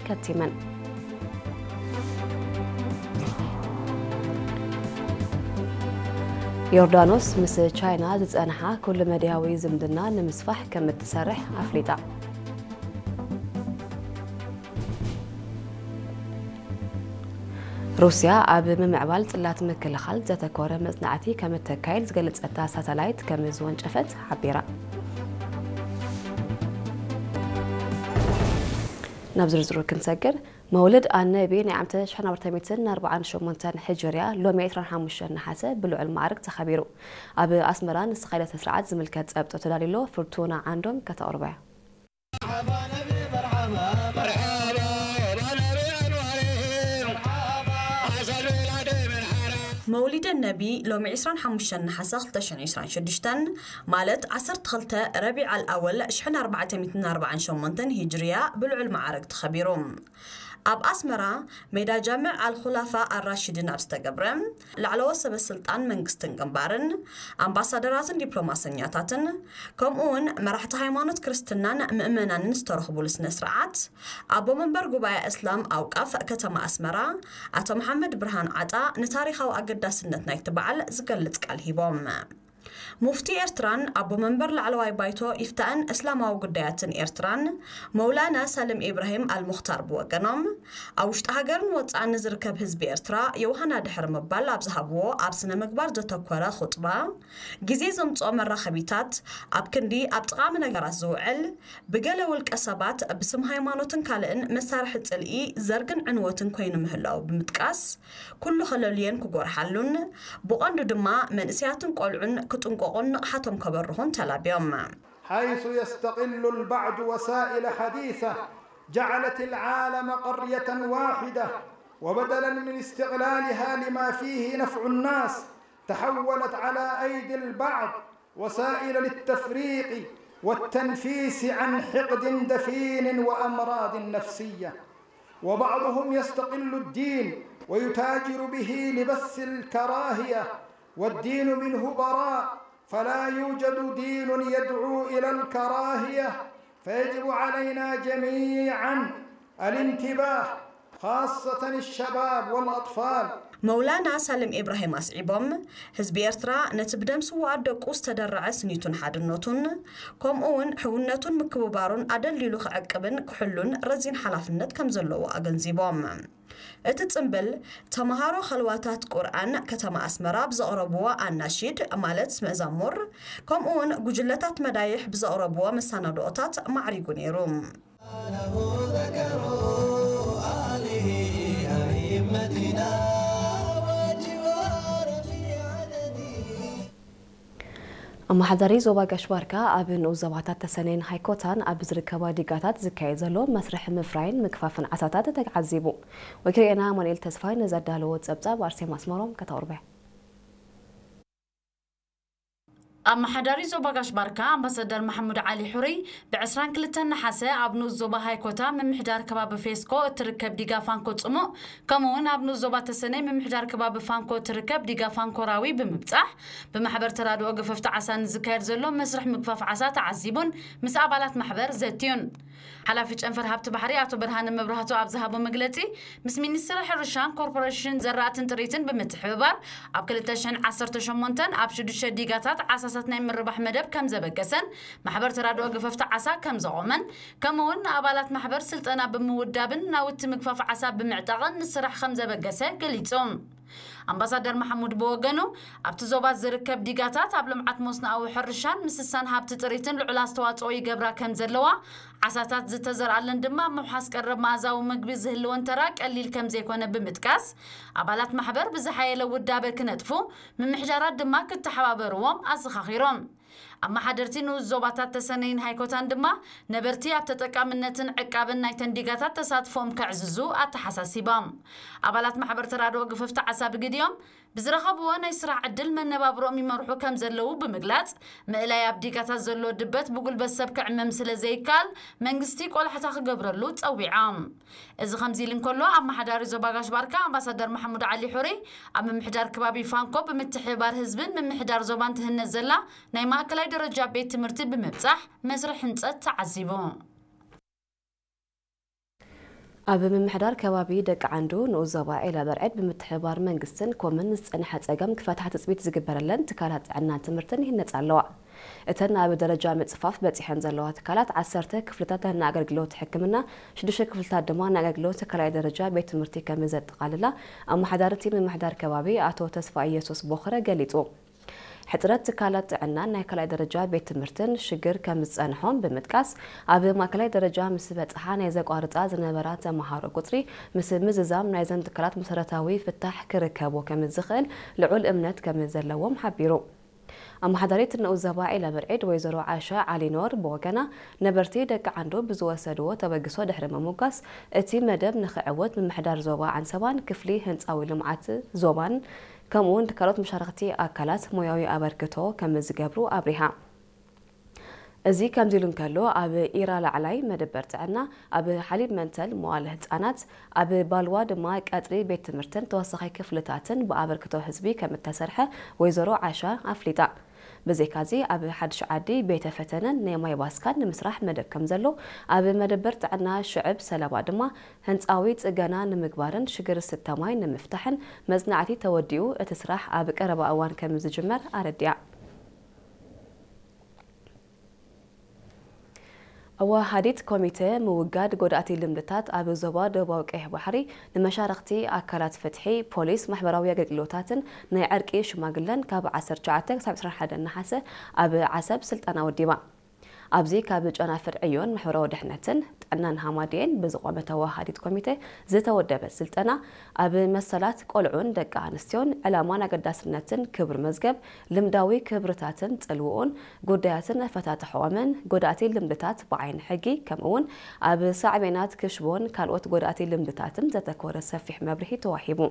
ከቲመን። ዮርዳኖስ ምስ ቻይና ዝጸንሓ ኩሉ መድያዊ ዝምድና ንምስፋሕ ከም እትሰርሕ ኣፍሊጣ። ሩስያ ኣብ ምምዕባል ጽላት ምክልኻል ዘተኮረ መጽናዕቲ ከም እተካይድ ዝገለጸታ ሳተላይት ከም ዝወንጨፈት ሓቢራ። ናብ ዝርዝሩ ክንሰግር፣ መውልድ ኣነቢ ናይ ዓመተ ሽሕን ኣርባዕተ ሚእትን ኣርባዓን ሸሞንተን ሕጅርያ ሎሚ ዕስራን ሓሙሽተን ነሓሰ ብልዑል ማዕርግ ተኸቢሩ። ኣብ ኣስመራ ንዝተኻየደ ስነ ስርዓት ዝምልከት ጸብጦ ተዳሊሎ ፍርቱና ዓንዶም ከተቕርቦ እያ። መውሊደ ነቢ ሎሚ ዕስራን ሓሙሽተን ነሓሰ ክልተ ሽሕን ዕስራን ሽዱሽተን፣ ማለት ዓሰርተ ክልተ ረቢዕ ኣልኣወል ሽሕን ኣርባዕተ ሚእትን ኣርባዓን ሸሞንተን ሂጅርያ ብልዑል ማዕረግ ተኸቢሩ። ኣብ ኣስመራ ሜዳ ጃምዕ ኣልኹላፋ ኣራሽድን ኣብ ዝተገብረ፣ ላዕለዎት ሰበ ስልጣን መንግስትን ግንባርን፣ ኣምባሳደራትን ዲፕሎማሰኛታትን፣ ከምኡ እውን መራሕቲ ሃይማኖት ክርስትናን ምእመናንን ዝተረኽቡሉ ስነ ስርዓት፣ ኣቦ መንበር ጉባኤ እስላም ኣውቃፍ ከተማ ኣስመራ ኣቶ መሓመድ ብርሃን ዓጣ ንታሪኻዊ ኣገዳስነት ናይቲ በዓል ዝገልጽ ቃል ሂቦም። ሙፍቲ ኤርትራን ኣቦ መንበር ላዕለዋይ ባይቶ ኢፍታእን እስላማዊ ጉዳያትን ኤርትራን መውላና ሳልም ኢብራሂም ኣልሙኽታር ብወገኖም፣ ኣብ ውሽጢ ሃገርን ወጻእን ንዝርከብ ህዝቢ ኤርትራ የውሃና ድሕሪ ምባል ኣብ ዝሃብዎ ኣብ ስነ ምግባር ዘተኮረ ኹጥባ፣ ግዜ ዘምጽኦ መራኸቢታት ኣብ ክንዲ ኣብ ጠቓሚ ነገራት ዝውዕል፣ ብገለ ውልቀ ሰባት ብስም ሃይማኖትን ካልእን መሳርሒ ጽልኢ፣ ዘርግን ዕንወትን ኮይኑ ምህላዉ ብምጥቃስ፣ ኩሉ ከለልዮን ክጎርሓሉን፣ ብቐንዱ ድማ መንእሰያትን ቆልዑን ክጥንቀቑን ንቕሓቶም ከበርኹን ተላብዮም። حيث يستقل البعض وسائل حديثة جعلت العالم قرية واحدة، وبدلا من استغلالها لما فيه نفع الناس، تحولت على أيدي البعض وسائل للتفريق والتنفيس عن حقد دفين وأمراض نفسية. وبعضهم يستغل الدين ويتاجر به لبث الكراهية، والدين منه براء، فلا يوجد دين يدعو إلى الكراهية، فيجب علينا جميعا الانتباه، خاصة الشباب والأطفال. መውላና ሳልም ኢብራሂም ኣስዒቦም፣ ህዝቢ ኤርትራ ነቲ ብደም ስዉኣት ደቁ ዝተደረዐ ስኒቱን ሓድነቱን፣ ከምኡ እውን ሕውነቱን ምክብባሩን ኣደልዲሉ ክዕቅብን ክሕሉን ረዚን ሓላፍነት ከም ዘለዎ ኣገንዚቦም። እቲ ጽምብል፣ ተመሃሮ ኸልዋታት ቁርኣን ከተማ ኣስመራ ብዘቕረብዎ ኣናሺድ፣ ማለት መዛሙር፣ ከምኡ እውን ጉጅለታት መዳይሕ ብዘቕረብዎ መሰናድኦታት ማዕሪጉ ነይሩ። ኣመሓዳሪ ዞባ ጋሽ ባርካ ኣብ ንኡስ ዞባታት ተሰነይን ሃይኮታን ኣብ ዝርከባ ዲጋታት ዝካየድ ዘሎ መስርሕ ምፍራይን ምግፋፍን ዓሳታት ተዓዚቡ። ወኪልኤና ኣማኑኤል ተስፋይ ንዘዳለዎ ጸብጻብ ኣርሴማ ኣስመሮም ከተቕርበ። ኣመሓዳሪ ዞባ ጋሽ ባርካ ኣምባሳደር ማሕሙድ ዓሊ ሑሪ ብ ዕስራን ክልተን ነሓሰ ኣብ ንኡስ ዞባ ሃይኮታ ምምሕዳር ከባቢ ፌስኮ እትርከብ ዲጋ ፋንኮ ጽሙእ፣ ከምኡ እውን ኣብ ንኡስ ዞባ ተሰነይ ምምሕዳር ከባቢ ፋንኮ እትርከብ ዲጋ ፋንኮ ራዊ ብምብጻሕ፣ ብማሕበር ተራድኦ ገፈፍቲ ዓሳ ንዝካየድ ዘሎ መስርሕ ምግፋፍ ዓሳ ተዓዚቡን ምስ ኣባላት ማሕበር ዘትዩን። ሓላፊ ጨንፈር ሃብቲ ባሕሪ ኣቶ ብርሃነ መብራህቱ ኣብ ዝሃቦ መግለጺ፣ ምስ ሚኒስትሪ ሕርሻን ኮርፖሬሽን ዘራእትን ጥሪትን ብምትሕብባር፣ ኣብ ክልተ ሽሕን ዓሰርተ ሸሞንተን ኣብ ሽዱሽተ ዲጋታት ዓሳሳት ናይ ምርባሕ መደብ ከም ዘበገሰን ማሕበር ተራድኦ ገፈፍቲ ዓሳ ከም ዘቖመን፣ ከምኡ እውን ንኣባላት ማሕበር ስልጠና ብምውዳብን ናውቲ ምግፋፍ ዓሳ ብምዕጣቕን ንስራሕ ከም ዘበገሰ ገሊጹ። ኣምባሳደር መሓሙድ ብወገኑ፣ ኣብቲ ዞባ ዝርከብ ዲጋታት ኣብ ልምዓት መስኖኣዊ ሕርሻን ምስሳን ሃብቲ ጥሪትን ልዑል ኣስተዋጽኦ ይገብራ ከም ዘለዋ፣ ዓሳታት ዝተዘርኣለን ድማ ኣብ ምውሓስ ቀረብ መኣዛዊ ምግቢ ዝህልወን ተራ ቀሊል ከም ዘይኮነ ብምጥቃስ፣ ኣባላት ማሕበር ብዝሓየለ ውዳበ ክነጥፉ፣ ምምሕዳራት ድማ ክተሓባበርዎም ኣዘኻኺሮም። ኣመሓደርቲ ንኡስ ዞባታት ተሰነይን ሃይኮታን ድማ ነበርቲ ኣብ ተጠቃምነትን ዕቃብን ናይተን ዲጋታት ተሳትፎም ከዕዝዙ ኣተሓሳሲቦም። ኣባላት ማሕበር ተራድኦ ገፈፍቲ ዓሳ ብግዲኦም ብዝረኸብዎ ናይ ስራሕ ዕድል መነባብሮኦም ይመርሑ ከም ዘለዉ ብምግላጽ፣ ምእላይ ኣብ ዲጋታት ዘሎ ድበት ብጉልበት ሰብ ክዕመም ስለ ዘይከኣል፣ መንግስቲ ቆላሕታ ክገብረሉ ጸዊዖም። እዚ ከምዚ ኢሉ እንከሎ፣ ኣመሓዳሪ ዞባ ጋሽ ባርካ ኣምባሳደር ማሕሙድ ዓሊ ሑሪ፣ ኣብ ምምሕዳር ከባቢ ፋንኮ ብምትሕብባር ህዝብን ምምሕዳር ዞባን ትህነጽ ዘላ ናይ ማእከላይ ደረጃ ቤት ትምህርቲ ብምብጻሕ መስርሕ ህንጸት ተዓዚቡ። ኣብ ምምሕዳር ከባቢ ደቂ ዓንዶ ንኡስ ዞባ ዒላ በርዕድ ብምትሕብባር መንግስትን ኮምን ዝጸንሐ ጸገም ክፈትሓ ትጽቢት ዝግበረለን ትካላት ጥዕናን ትምህርትን ይህነጻ ኣለዋ። እተን ኣብ ደረጃ ምጽፋፍ በጺሐን ዘለዋ ትካላት ዓሰርተ ክፍልታት ናይ ኣገልግሎት ሕክምና፣ ሽዱሽተ ክፍልታት ድማ ናይ ኣገልግሎት ካልኣይ ደረጃ ቤት ትምህርቲ ከም ዘጠቓልላ ኣመሓዳሪ እቲ ምምሕዳር ከባቢ ኣቶ ተስፋ ኢየሱስ ቦኽረ ገሊጹ። ሕጽረት ትካላት ጥዕናን ናይ ካልኣይ ደረጃ ቤት ትምህርትን ሽግር ከም ዝጸንሖም ብምጥቃስ፣ ኣብ ማእከላይ ደረጃ ምስ በጽሓ ናይ ዘቋርጻ ዝነበራ ተመሃሮ ቁጽሪ ምስ ምዝዛም ናይዘን ትካላት መሰረታዊ ፍታሕ ክርከቦ ከም ዝኽእል ልዑል እምነት ከም ዘለዎም ሓቢሩ። ኣመሓዳሪት ንኡስ ዞባ ዒላ በርዒድ ወይዘሮ ዓሻ ዓሊኖር ብወገና፣ ነበርቲ ደቂ ዓንዶ ብዝወሰድዎ ተበግሶ ድሕሪ ምምጓስ፣ እቲ መደብ ንኽዕወት ምምሕዳር ዞባ ዓንሰባን ክፍሊ ህንጻዊ ልምዓት ዞባን ከምኡውን ካልኦት መሻርኽቲ ኣካላት ሞያዊ ኣበርክቶ ከም ዝገብሩ ኣብሪሃ። እዚ ከምዚ ኢሉ እንከሎ፣ ኣብ ኢራ ላዕላይ መደበር ጥዕና፣ ኣብ ሓሊብ መንተል መዋለ ህጻናት፣ ኣብ ባልዋ ድማ ቀጽሪ ቤት ትምህርትን ተወሳኺ ክፍልታትን ብኣበርክቶ ህዝቢ ከም እተሰርሐ ወይዘሮ ዓሻ ኣፍሊጣ። ብዘይካዚ፣ ኣብ ሓድሽ ዓዲ ቤተ ፈተነን ናይ ማይ ባስካን ንምስራሕ መደብ ከም ዘሎ፣ ኣብ መደበር ጥዕና ሽዕብ ሰለባ ድማ ህንጻዊ ጽገና ንምግባርን ሽግር ዝስተ ማይ ንምፍታሕን መጽናዕቲ ተወዲኡ እቲ ስራሕ ኣብ ቀረባ እዋን ከም ዝጅመር ኣረዲኣ። ኣወሃሃዲት ኮሚተ ምውጋድ ጎዳእቲ ልምድታት ኣብ ዞባ ደቡባዊ ቀይሕ ባሕሪ ንመሻርኽቲ ኣካላት ፍትሒ፣ ፖሊስ፣ ማሕበራዊ ኣገልግሎታትን ናይ ዕርቂ ሽማግለን ካብ ዓሰርተ ትሽዓተ ክሳብ ዕስራን ሓደን ነሓሰ ኣብ ዓሰብ ስልጠና ወዲባ። ኣብዚ ካብ ጨናፍር ዕዮን ማሕበራዊ ድሕነትን ጥዕናን ሃማድኤን ብዝቖመት ኣወሃሃዲት ኮሚተ ዝተወደበ ስልጠና፣ ኣብ መሰላት ቆልዑን ደቂ ኣንስትዮን ዕላማን ኣገዳስነትን ክብሪ መዝገብ ልምዳዊ ክብርታትን ጽልውኡን ጉዳያትን ኣፈታትሖኦምን ጎዳእቲ ልምድታት ብዓይኒ ሕጊ ከምኡውን ኣብ ሳዕቤናት ክሽቦን ካልኦት ጎዳእቲ ልምድታትን ዘተኮረ ሰፊሕ መብርሂ ተዋሂቡ።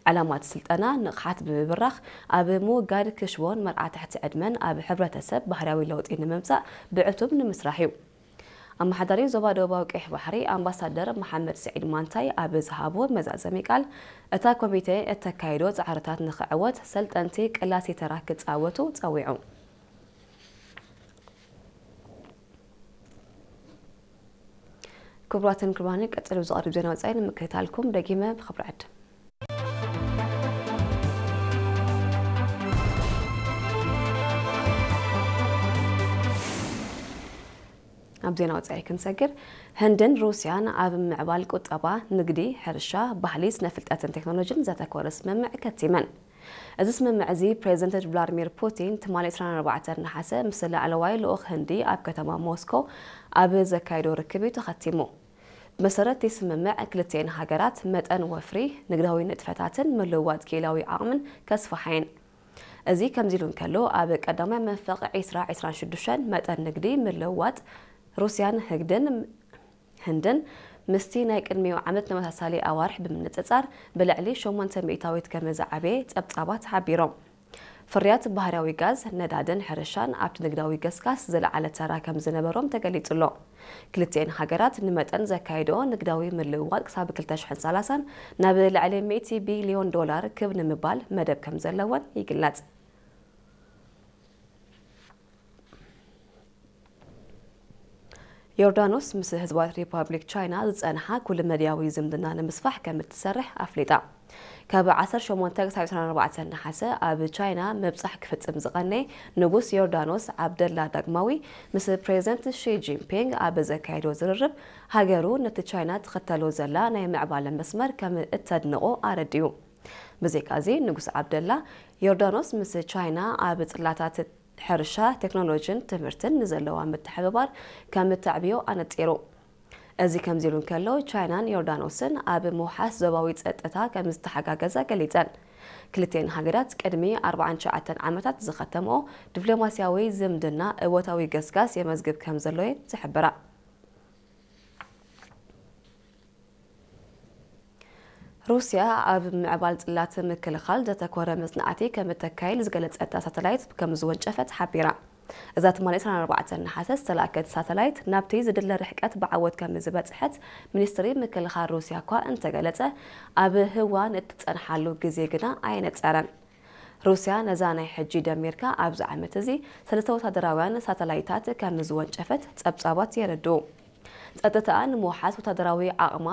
ዕላማ እቲ ስልጠና ንቕሓት ብምብራኽ ኣብ ምውጋድ ክሽቦን መርዓ ትሕቲ ዕድመን ኣብ ሕብረተሰብ ባህርያዊ ለውጢ ንምምጻእ ብዕቱብ ንምስራሕ እዩ። ኣመሓዳሪ ዞባ ደቡባዊ ቀይሕ ባሕሪ ኣምባሳደር መሓመድ ስዒድ ማንታይ ኣብ ዝሃቦ መዛዘሚ ቃል፣ እታ ኮሚቴ እተካይዶ ጻዕርታት ንኽዕወት ሰልጠንቲ ቀላሲ ተራ ክጻወቱ ጸዊዑ። ክቡራትን ክቡራንን፣ ቀጺሉ ዝቐርብ ዜና ወጻኢ ንምክትታልኩም ደጊመ ብኽብሪ ዕድም። ኣብ ዜና ወጻኢ ክንሰግር፣ ህንድን ሩስያን ኣብ ምዕባል ቁጠባ፣ ንግዲ፣ ሕርሻ፣ ባህሊ፣ ስነ ፍልጠትን ቴክኖሎጂን ዘተኮረ ስምምዕ ከቲመን። እዚ ስምምዕ እዚ ፕሬዚደንት ቭላድሚር ፑቲን ትማሊ ዕስራን ኣርባዕተን ነሓሰ ምስ ላዕለዋይ ልኡኽ ህንዲ ኣብ ከተማ ሞስኮ ኣብ ዘካየዶ ርክብ እዩ ተኸቲሙ። ብመሰረት እቲ ስምምዕ፣ ክልቲኤን ሃገራት መጠን ወፍሪ፣ ንግዳዊ ንጥፈታትን ምልውዋጥ ክኢላዊ ዓቕምን ከስፍሓ እየን። እዚ ከምዚ ኢሉ እንከሎ፣ ኣብ ቀዳማይ መንፈቕ ዕስራ ዕስራን ሽዱሽተን መጠን ንግዲ ምልውዋጥ ሩስያን ህግድን ህንድን ምስቲ ናይ ቅድሚኡ ዓመት ተመሳሳሊ ኣዋርሕ ብምንጽጻር ብልዕሊ ሸሞንተ ሚእታዊት ከም ዝዓበየ ጸብጻባት ሓቢሮም። ፍርያት ባህርያዊ ጋዝ፣ ነዳድን ሕርሻን ኣብቲ ንግዳዊ ገስጋስ ዝለዓለ ተራ ከም ዝነበሮም ተገሊጹ ኣሎ። ክልቲኤን ሃገራት ንመጠን ዘካየድኦ ንግዳዊ ምልውዋጥ ክሳብ ክልተ ሽሕን ሰላሳን ናብ ልዕሊ ሚእቲ ቢልዮን ዶላር ክብ ንምባል መደብ ከም ዘለወን ይግለጽ። ዮርዳኖስ ምስ ህዝባዊት ሪፓብሊክ ቻይና ዝጸንሓ ኩሉ መድያዊ ዝምድና ንምስፋሕ ከም እትሰርሕ ኣፍሊጣ። ካብ ዓሰርተ ሸሞንተ ክሳብ ዕስራን ኣርባዕተን ነሓሰ ኣብ ቻይና ምብጻሕ ክፍጽም ዝቐነየ ንጉስ ዮርዳኖስ ዓብደላ ዳግማዊ፣ ምስ ፕሬዚደንት ሺ ጂንፒንግ ኣብ ዘካየዶ ዝርርብ፣ ሃገሩ ነቲ ቻይና ትኽተሎ ዘላ ናይ ምዕባለ መስመር ከም እተድንቖ ኣረዲኡ። ብዘይካዚ፣ ንጉስ ዓብደላ፣ ዮርዳኖስ ምስ ቻይና ኣብ ጽላታት ሕርሻ፣ ቴክኖሎጂን ትምህርትን ንዘለዋ ምትሕብባር ከም እተዕብዮ ኣነጺሩ። እዚ ከምዚ ኢሉ እንከሎ፣ ቻይናን ዮርዳኖስን ኣብ ምውሓስ ዞባዊ ጸጥታ ከም ዝተሓጋገዛ ገሊጸን። ክልቲኤን ሃገራት ቅድሚ ኣርባዓን ትሽዓተን ዓመታት ዝኸተምኦ ዲፕሎማስያዊ ዝምድና እወታዊ ገስጋስ የመዝግብ ከም ዘሎ እየን ዝሕብራ። ሩስያ ኣብ ምዕባል ጽላት ምክልኻል ዘተኮረ መጽናዕቲ ከም እተካይድ ዝገለጸታ ሳተላይት ከም ዝወንጨፈት ሓቢራ። እዛ ትማሊ ዕስራን ኣርባዕተን ነሓሰ ዝተላእከት ሳተላይት ናብቲ ዝድለ ርሕቀት ብዓወት ከም ዝበጽሐት ሚኒስትሪ ምክልኻል ሩስያ እኳ እንተገለጸ፣ ኣብ ህዋ ንእትጸንሓሉ ግዜ ግና ኣየነጸረን። ሩስያ ነዛ ናይ ሕጂ ደሚርካ ኣብዚ ዓመት እዚ ሰለስተ ወታደራውያን ሳተላይታት ከም ዝወንጨፈት ጸብጻባት የረድኡ። ጸጥታኣ ንምውሓስ ወታደራዊ ዓቕማ